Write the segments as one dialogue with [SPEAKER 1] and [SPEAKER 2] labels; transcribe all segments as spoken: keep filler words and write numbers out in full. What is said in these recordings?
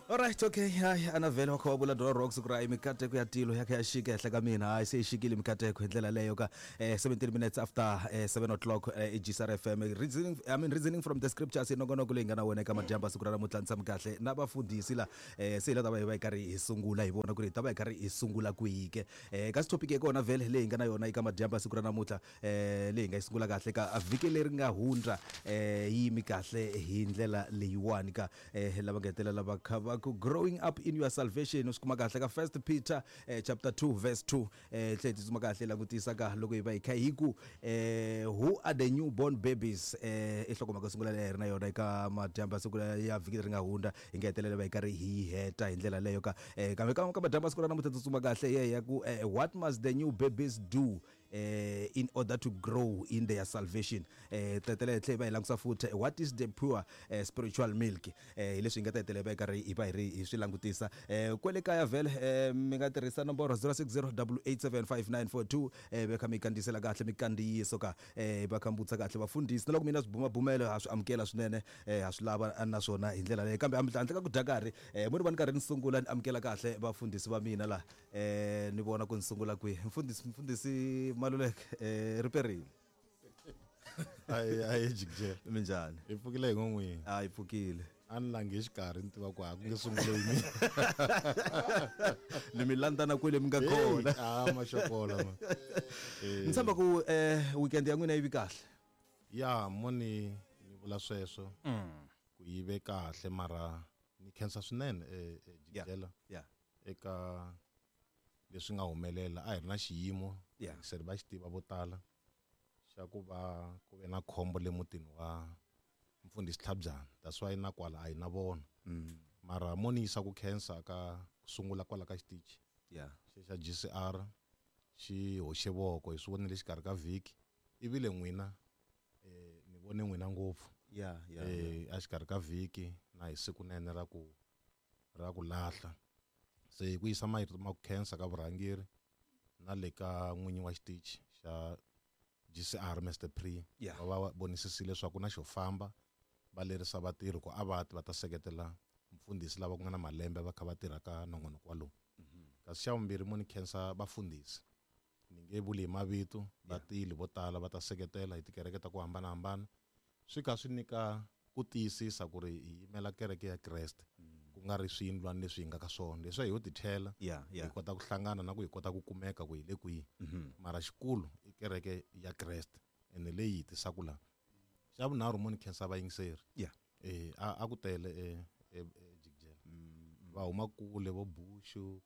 [SPEAKER 1] Alright, okay. Hayi, ana vhele wa kha wa vula Dora Rocks ku ri hayi mikateko ya tilo ya kha ya xika ehenhla ka mina. Hayi, se yi xikile mikateko hi ndlela leyo ka eh, seventeen minutes after eh, seven o'clock eh, i G C R F M. Reasoning, I mean, reasoning from the scriptures, i nongonoko leyi nga na wena eka madyambu siku ra namuntlha. Ni tshami kahle na vafundhisi la eh, se hi la ta va hi va hi karhi hi sungula hi vona ku ri hi ta va hi karhi hi sungula kwihi ke eh, kasi topic ya kona vhele leyi hi nga na yona eka madyambu siku ra namuntlha eh, leyi hi nga yi sungula kahle ka vhiki leri nga hundza eh, yi yimi kahle hi ndlela leyiwani ka eh, lava nga hetelela va kha va ku "Growing up in your salvation". U swi kuma kahle ka First Peter eh, chapter two verse two. eh tlhe tsutsuma kahle langutisa ka loko hi va hi kha hi ku eh, "Who are the newborn babies?" eh i nhlokomhaka yo sungula leyi hi ri na yona eka madyambu ya siku ya vhiki leri nga hundza, hi nga hetelela va hi karhi hi yi heta hi ndlela leyo ka eh, kambe ka ka madyambu ya siku ra namuntlha tsutsuma kahle ye ya ku eh, "What must the new babies do eh, in order to grow in their salvation?" eh tetele hi tlhe va hi langusa futhi "What is the pure eh, spiritual milk?" eh hi leswi hi nga ta hetelela va hi karhi hi va hi ri hi swi langutisa eh kwele kaya vhele. eh mi nga tirhisa nomboro zero six zero eight eight seven five nine four two eh va kha mi kandziyisela kahle mikandziyiso ka eh va kha mi vutisa kahle vafundhisi na loko mina swibumabumelo ha swi amukela swinene, eh ha swi lava naswona hi ndlela leyo. Kambe handle ka ku dya karhi eh mo ni va ni karhi ni sungula ni amukela kahle vafundhisi va mina la eh ni vona ku ni sungula kwihi. Mfundhisi, mfundhisi Maluleke, eh riperile.
[SPEAKER 2] Ayi, ayi, jikijela.
[SPEAKER 1] Minjhani?
[SPEAKER 2] Hi pfukile hi n'wini.
[SPEAKER 1] A hi pfukile.
[SPEAKER 2] A ni langi exikarhi, ni tiva ku a ku nge sunguli hi mina.
[SPEAKER 1] Ni mi landzana kwele mi nga kona.
[SPEAKER 2] A maxokola ma.
[SPEAKER 1] Ni tshemba ku eh weekend ya n'wina yi vi kahle.
[SPEAKER 2] Ya, mo ni ni vula sweswo ku yi ve kahle, mara ni khensa swinene eh, eh, jikijela
[SPEAKER 1] yeah
[SPEAKER 2] eka leswi nga humelela. A hi ri na xiyimo
[SPEAKER 1] Yeah.
[SPEAKER 2] se ri va xi tiva vo tala xa ku va ku ve na khombo le mutini wa mfundhisi Tlhabyana. That's why na kwala a hi na vona, mara mo ni yisa ku khensa ka ku sungula kwala ka xitichi
[SPEAKER 1] yeah
[SPEAKER 2] xe xa G C R. Xi hoxe voko, hi swi vonile xikarhi ka vhiki ivile n'wina eh ni vone n'wina ngopfu
[SPEAKER 1] yeah yeah
[SPEAKER 2] eh a xikarhi ka vhiki na hi siku nene ra ku ra ku lahla. Se hi ku yisa marito ma ku khensa ka vurhangeri na le ka n'winyi wa xitichi xa G C R, Mister Pre.
[SPEAKER 1] Yeah.
[SPEAKER 2] Va va vonisisile leswaku na xo famba, va lerisa vatirhi ku a va ti va ta seketela mfundhisi lava ku nga na malembe va kha va tirha ka nongonoko walowu. Kasi xa vumbirhi, mo ni khensa vafundhisi, ni nge vuli hi mavito, va tile vo tala va ta seketela hi tikereke ta ku hambanahambana. Swi kha swi nyika ku tiyisisa ku ri hi yimela kereke ya Kreste, ku nga ri swiyindlwana leswi hi nga ka swona leswi hi yo tithela
[SPEAKER 1] Yeah, yeah.
[SPEAKER 2] hi kota ku hlangana na ku hi kota ku kumeka ku hi le kwihi, mara xikulu i kereke ya Kreste ene leyi hi tisaka laha. Xa vunharhu, mo ni khensa vayingiseri.
[SPEAKER 1] Yeah
[SPEAKER 2] eh a, a ku tele e e jikijela, va huma kule, vo Bushu,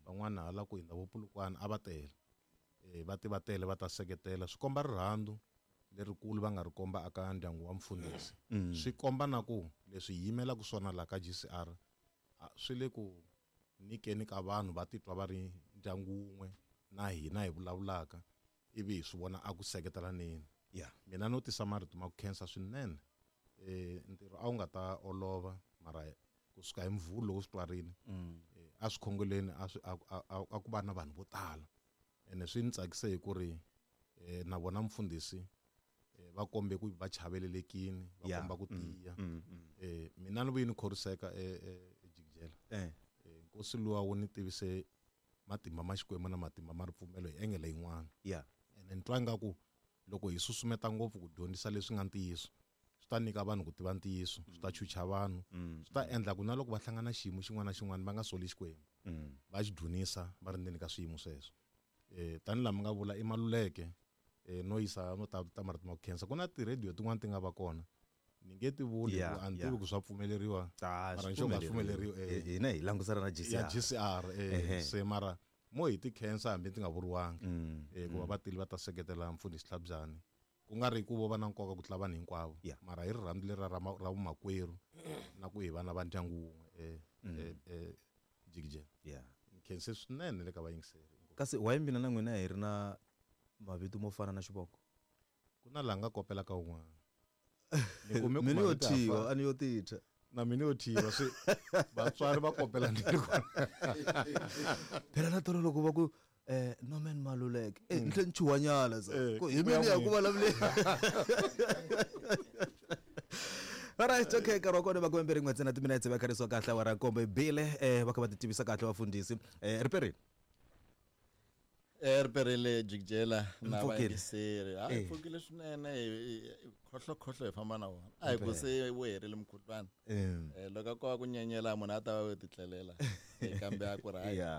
[SPEAKER 2] van'wana hala ku hindza vo Pulukwana, a va tele eh va ti va tele va ta seketela. Swi komba rirhandzu lerikulu va nga ri komba aka ndyangu wa mfundhisi. Swi komba na ku leswi hi yimelaka swona laha ka G C R a, swi le ku nyikeni ka vanhu va titwa va ri ndyangu wun'we na hina hi vulavulaka ivi hi swi vona a ku seketelaneni.
[SPEAKER 1] Yeah
[SPEAKER 2] mina no tisa marito ma ku khensa swinene. eh ntirho a wu nga ta olova, mara kusuka hi Mvhulu loko swi twarini eh, a swi khongeleni, a swi a, a, a, a ku va na vanhu vo tala ene swi ni tsakise hi ku ri eh, na vona mfundhisi eh, va kombe ku va chavelelekini, va
[SPEAKER 1] Yeah.
[SPEAKER 2] komba ku tiya. eh mina ni vuye ni khoriseka eh, eh, ejikijela.
[SPEAKER 1] eh
[SPEAKER 2] eh, nkosi luwa wu ni tivise matimba ma Xikwembu na matimba ma ripfumelo hi engele yin'wana.
[SPEAKER 1] Yeah
[SPEAKER 2] ene ni twa ingaku loko hi susumeta ngopfu ku dyondzisa leswi nga ntiyiso, swi ta nyika vanhu ku tiva ntiyiso, swi ta chucha vanhu, swi ta endla ku na loko va hlangana xiyimo xin'wana na xin'wana va nga soli Xikwembu, va xi dzunisa va ri ndzeni ka swiyimo sweswo. um tanihi laha mi nga vula i Maluleke um no yisa no ta ta marito ma ku khensa. Ku na tirhediyo tin'wana ti nga va kona, ni nge ti vuli
[SPEAKER 1] Yeah,
[SPEAKER 2] ku a ni
[SPEAKER 1] yeah.
[SPEAKER 2] tivi ku swa pfumeleriwa,
[SPEAKER 1] Ah,
[SPEAKER 2] mara
[SPEAKER 1] swi
[SPEAKER 2] ni xo nga swi pfumeleriwi eh.
[SPEAKER 1] hina hi langusana na
[SPEAKER 2] Ya
[SPEAKER 1] G C R.
[SPEAKER 2] G C R
[SPEAKER 1] Ehe.
[SPEAKER 2] eh se mara mo hi ti khensa hambi ti nga vuriwangi eh ku va va tile va ta seketela mfundhisi Tlhabyani, ku nga ri ku vo va na nkoka ku tlula vanhu hinkwavo,
[SPEAKER 1] Yeah.
[SPEAKER 2] mara hi rirhandzu leri ra ma- ra vumakwerhu na ku hi vana va ndyangu wun'we eh eh eh jikijela.
[SPEAKER 1] Yeah
[SPEAKER 2] ni khense swinene le ka vayingiseri.
[SPEAKER 1] Kasi why mina na n'wina hi ri na mavito mo fana na xivongo?
[SPEAKER 2] Ku na laha nga kopela ka un'wana, ni kume ku
[SPEAKER 1] Mina yo
[SPEAKER 2] mavito ya
[SPEAKER 1] thyiwa
[SPEAKER 2] fana.
[SPEAKER 1] A ni yo titha.
[SPEAKER 2] Na mina yo thyiwa, swi vatswari va kopela ni kona.
[SPEAKER 1] Phela na tolo loko va ku eh Norman Maluleke, eh ni tlhe ni chuhanyana sa
[SPEAKER 2] Eh,
[SPEAKER 1] ku hi
[SPEAKER 2] ku ya
[SPEAKER 1] mina ya ku
[SPEAKER 2] n'wina.
[SPEAKER 1] vulavuleni. Alright, okay, nkarhi wa kona makume mbirhi n'we ntsena timinetse va kharisiwa kahle awara nkombo bile eh va kha va ti tivisa kahle vafundhisi eh riperini.
[SPEAKER 3] Eh riperile jikijela na
[SPEAKER 1] Mpfukile.
[SPEAKER 3] vayingiseri. Ha
[SPEAKER 1] Eh.
[SPEAKER 3] pfukile swinene hi- hi- khohlo khohlo hi famba na wona. A hi ku se wu herile mukhuhlwana.
[SPEAKER 1] Mm.
[SPEAKER 3] Eh loko ko va ku nyenyela munhu a ta va yo titlelela. Eh, kambe a ku ri hayi
[SPEAKER 1] Yeah.